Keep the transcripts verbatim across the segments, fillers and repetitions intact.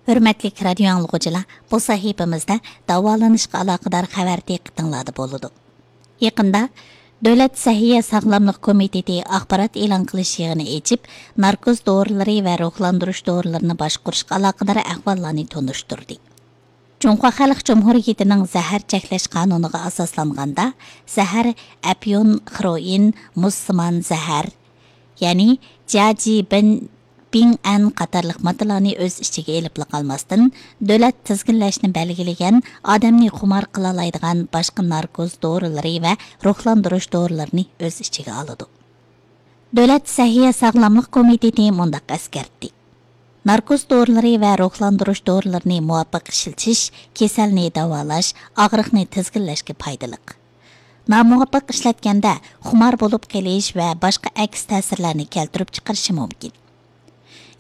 ھۆرمەتلىك رادىيو ئاڭلىغۇچىلار، بۇ سەھىپىمىزدە داۋالىنىشقا ئالاقىدار خەۋەر دىققىتىڭلاردا بولىدۇ. يېقىندا دۆلەت سەھىيە ساغلاملىق كومىتېتى ئاخبارات ئېلان قىلىش يىغىنى ئېچىپ، ناركوز دورىلىرى ۋە روھلاندۇرۇش دورىلىرىنى باشقۇرۇشقا ئالاقىدار ئەھۋاللارنى تونۇشتۇردى. جۇڭخۇا خەلق جۇمھۇرىيىتىنىڭ زەھەر چەكلەش قانۇنىغا ئاساسلانغاندا، زەھەر ئەپيۇن، خروئىن، مۇزسىمان زەھەر، يەنى جياجى بىن، بىڭئەن قاتارلىق ماددىلارنى ئۆز ئىچىگە ئېلىپلا قالماستىن، دۆلەت تىزگىنلەشنى بەلگىلىگەن ئادەمنى خۇمار قىلالايدىغان باشقا ناركوز دورىلىرى ۋە روھلاندۇرۇش دورىلىرىنى ئۆز ئىچىگە ئالىدۇ. دۆلەت سەھىيە ساغلاملىق كومىتېتى مۇنداق ئەسكەرتتى: ناركوز دورىلىرى ۋە روھلاندۇرۇش دورىلىرىنى مۇۋاپىق ئىشلىتىش كېسەلنى داۋالاش، ئاغرىقنى تىزگىنلەشكە پايدىلىق. نامۇۋاپىق ئىشلەتكەندە خۇمار بولۇپ قېلىش ۋە باشقا ئەكس تەسىرلەرنى كەلتۈرۈپ چىقىرىشى مۇمكىن.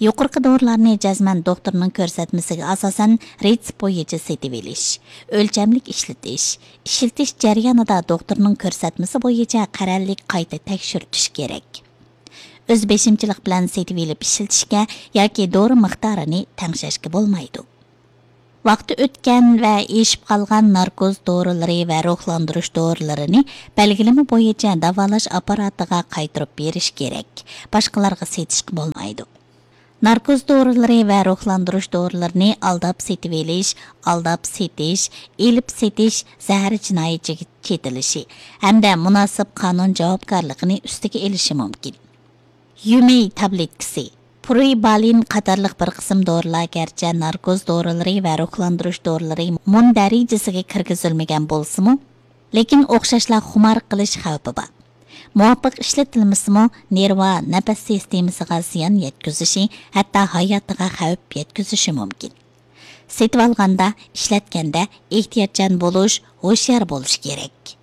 يۇقىرىقى دورىلارنى جەزمەن دوختۇرنىڭ كۆرسەتمىسىگە ئاساسەن رېتسېپ بويىچە سېتىۋېلىش، ئۆلچەملىك ئىشلىتىش، ئىشلىتىش جەريانىدا دوختۇرنىڭ كۆرسەتمىسى بويىچە قەرەللىك قايتا تەكشۈرتۈش كېرەك. ئۆز بېشىمچىلىق بىلەن سېتىۋېلىپ ئىشلىتىشكە ياكى دورا مىقدارىنى تەڭشەشكە بولمايدۇ. ۋاقتى ئۆتكەن ۋە ئېشىپ قالغان ناركوز دورىلىرى ۋە روھلاندۇرۇش دورىلىرىنى بەلگىلىمە بويىچە داۋالاش ئاپپاراتىغا قايتۇرۇپ بېرىش كېرەك، باشقىلارغا سېتىشقا بولمايدۇ. ناركوز دورىلىرى ۋە روھلاندۇرۇش دورىلىرىنى ئالداپ سېتىۋېلىش، ئالداپ سېتىش، ئېلىپ سېتىش زەھەر جىنايىتىگە چېتىلىشى ھەمدە مۇناسىپ قانۇن جاۋابكارلىقىنى ئۈستىگە ئېلىشى مۇمكىن. يۈمېي تابلېتكىسى، پرۇيبالىن قاتارلىق بىر قىسىم دورىلار گەرچە ناركوز دورىلىرى ۋە روھلاندۇرۇش دورىلىرى مۇندەرىجىسىگە كىرگۈزۈلمىگەن بولسىمۇ، لېكىن ئوخشاشلا خۇمار قىلىش خەۋپى بار. مۇۋاپىق ئىشلىتىلمىسىمۇ، نېرۋا، نەپەس سىستېمىسىغا زىيان يەتكۈزۈشى، ھەتتا ھاياتىغا خەۋپ يەتكۈزۈشى مۇمكىن. سېتىۋالغاندا، ئىشلەتكەندە ئېھتىياتچان بولۇش، ھوشيار بولۇش كېرەك.